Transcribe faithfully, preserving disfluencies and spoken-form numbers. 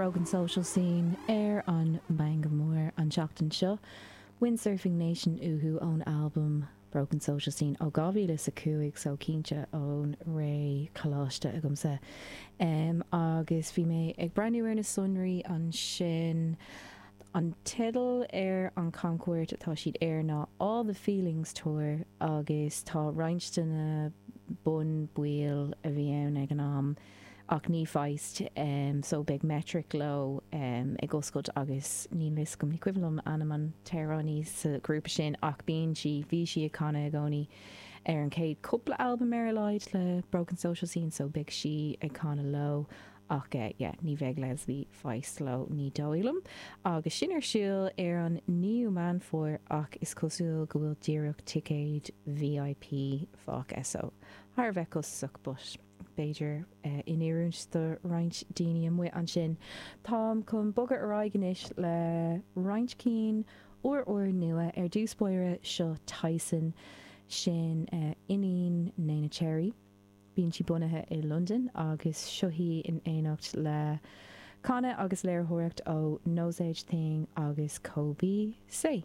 Broken Social Scene ar an Meangadh Mór an tseachtain seo. Windsurfing Nation uathu ón albam Broken Social Scene ó dhá mhíle is a cúig so cinnte ón ré coláiste agamsa. Um, agus bhí mé ag breathnú ar na sonraí ansin an teideal ar an camchuairt atá siad air ná All the Feelings Tour agus tá roinnt de na bunbhaill a bhí ann ag an am ach ní Feist um, so beidh Metric leo um, ag oscailt agus níl a fhios agam ní cuimhin liom ainm an t-amhránaí sa grúpa sin ach bíonn sí bhí sí ag canadh i gcónaí ar an chéad cúpla albam ar a laghad le Broken Social Scene so beidh sí ag canadh leo ach uh, yeah, ní bheidh Leslie Feist leo ní dóigh liom. Agus sin ar siúl ar an naoú Meán Fómhair ach is cosúil go bhfuil díreach ticéid VIP fágtha so thar bheith costasach but b'fhéidir uh, in oiriúint do roinnt daoine amuigh ansin. Táim chun bogadh ar aghaidh anois le roinnt cinn úr úr nua ar dtús báire seo Tyson sin uh, iníon Neneh Cherry. Bíonn sí bunaithe i London agus seo í in éineacht le canadh agus léiritheoireacht ó Nosaj Thing agus Coby Sey.